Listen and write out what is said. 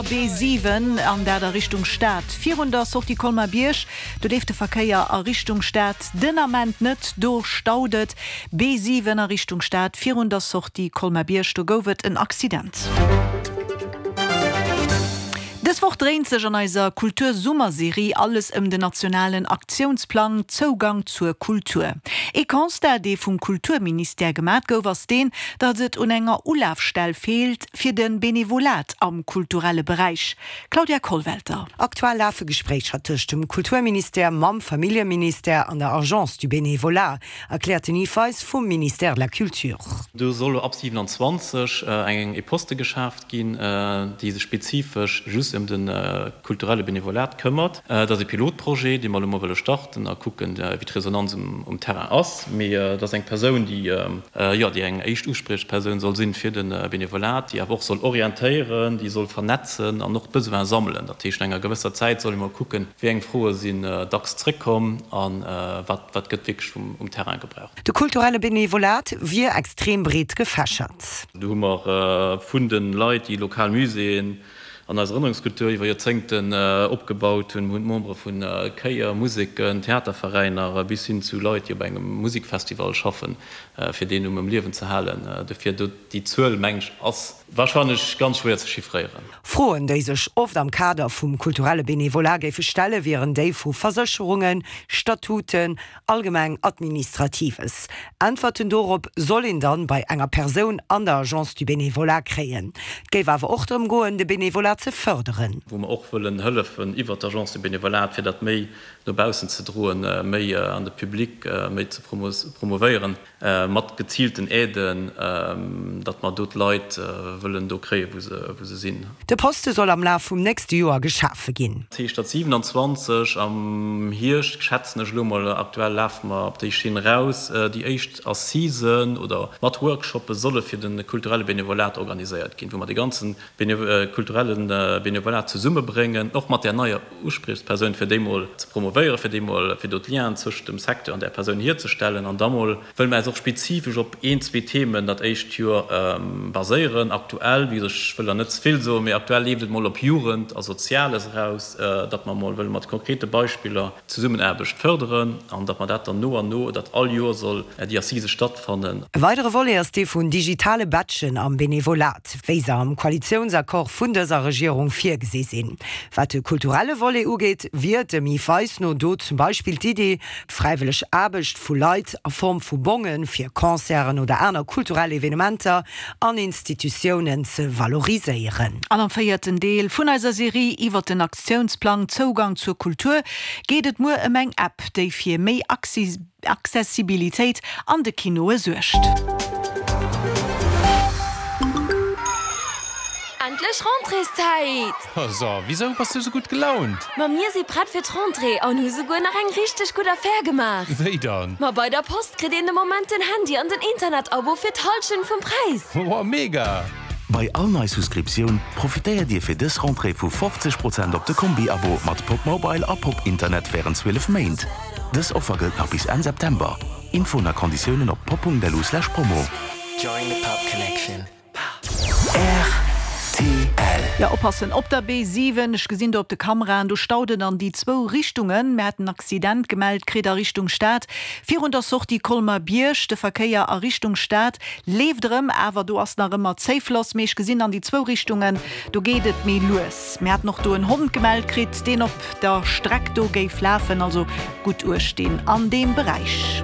B7 an dat a Richtung Stad. Virun der Sortie Colmar-Bierg, do leeft de Verkéier a Richtung Stad den Ament net, do staut et. B7 a Richtung Stad virun der Sortie Colmar-Bierg, do gouf et en Accident. Dës Woch dréint sech an eiser Kultur-Summer-Serie alles ëm den nationalen Aktiounsplang Zougang zur Kultur. Ee Constat, dee vum Kulturministère gemat gouf, ass deen, datt et un enger Ulafstell feelt fir de Benevolat am kulturelle Beräich. Claudia Kollwelter. Aktuell lafe Gespréicher tëscht dem Kulturministère mam Familljeministère an der Agence du Bénévolat, erkläert den Yves Weis vum Ministère de la Culture. Do soll elo ab 27 eng ee Poste geschaaft ginn, déi sech spezifesch just ëm de kulturelle Benevolat këmmert. Dat ass ee Pilotprojet, dee mer elo mol wëlle starten a kucken, wéi d'Resonanz um Terrain ass. Mee et ass eng Persoun, déi, jo, déi eng éischt Uspriechpersoun soll sinn fir de Benevolat, déi awer och soll orientéieren, déi soll vernetzen an och d'Besoine sammelen. Dat heescht, no enger gewësser Zäit soll ee mol kucken, wéi eng Froe sinn dacks zréckkomm a wat, wat gëtt wierklech um Terrain gebraucht. De kulturelle Benevolat wier extrem breet gefächert. Do hu mer vun de Leit, déi lokal Muséeën an eis Erënnerungskultur iwwer Joerzéngten opgebaut hunn. Mir hunn d'Membere vu Chéier, Museken, Theaterveräiner bis hin zu Leit, déi op engem Musikfestival schaffen, fir deen um Liewen ze halen. Dofir do déi Zuel, mengen ech, ass warscheinlech ganz schwéier ze chiffréieren. Froen, déi sech oft am Kader vum kulturelle Benevolat géife stellen, wieren déi vu Versécherungen, Statuten, Allgemeng Administratives. Äntwerten dorop soll een dann bei enger Persoun an der Agence du Bénévolat kréien. Et géif awer och drëm goen, de Bénévolat ze fërderen. Wou mer och wëllen hëllefen iwwert d'Agence du Bénévolat, fir dat méi no baussen ze droen, méi an de Public méi ze promovéieren. Mat geziilten Aiden, datt mer do d'Leit wëllen do kréien, wou se sinn. De Poste soll am Laf vum nächste Joer geschafe ginn. Dat heescht, datt 27 am Hierscht, schätzen ech elo mol, aktuell lafe mer op déi Schinn eraus, déi éischt Assisen oder mat Workshoppe solle fir de kulturelle Benevolat organiséiert ginn, wou mer de ganze kulturelle Benevolat zesummebréngen, och mat där neier Uspriechspersoun, fir déi mol ze promovéieren, fir déi mol, fir do d'Lienen zwëschent dem Secteur an där Persoun hierzestellen. An da mol wëlle mer eis och spezifesch op een, zwee Themen dat éischt Joer baséieren. Aktuell, wéi gesot, ech wëll der net ze vill soen, mee aktuell leeft et mol op Jugend a Soziales eraus, datt mer mol wëlle mat konkrete Beispiller d'Zesummenaarbecht fërderen an datt mer dat dann no an no, datt all Joer soll déi Assise stattfannen. E weidere Volet ass dee vun digitale Badgen am Benevolat, wéi se am Koalitiounsaccord vun dëser Regierung virgesi sinn. Wat de kulturelle Volet ugeet, wier dem Yves Weis no do zum Beispill d'Idee, d'fräiwëlleg Aarbecht vu Leit a Form vu Bonge fir Concerten oder aner kulturell Evenementer an Institutiounen ze valoriséieren. An am véierten Deel vun eiser Serie iwwert den Aktiounsplang Zougang zur Kultur geet et muer ëm eng App, déi fir méi Accessibilitéit an de Kinoe suergt. Endlech Rentréeszäit! So, wisou bass du sou gutt gelaunt? Ma mir si prett fir d'Rentrée an hu souguer nach eng richteg gutt Affär gemaach! Wéi dann? Ma bei der Post kritt een de Moment den Handy an den Internet-Abo fir d'Hallschent vum Präis! Woah, mega! Bei all nei Souscriptioun profitéiert Dir fir dës Rentrée vu 50 Prozent op de Kombi-Abo mat Popmobile a Pop-Internet wärend 12 Méint. Dës Offer gëllt nach bis Enn September. Infoen a Konditiounen op pop.lu/promo. Rtl. Jo, oppassen op der B7, ech gesinn do op de Kameraen, do staut et an déi zwou Richtungen. Mir haten en Accident gemellt kritt a Richtung Stad, virun der Sortie Colmer-Bierg. De Verkéier a Richtung Stad leeft erëm, awer do ass nach ëmmer Zéifloss. Mee ech gesinn an déi zwou Richtungen, do geet et méi lues. Mir haten och do en Hond gemellt kritt, deen op der Streck do géif lafen. Also gutt Uecht dinn an deem Beräich.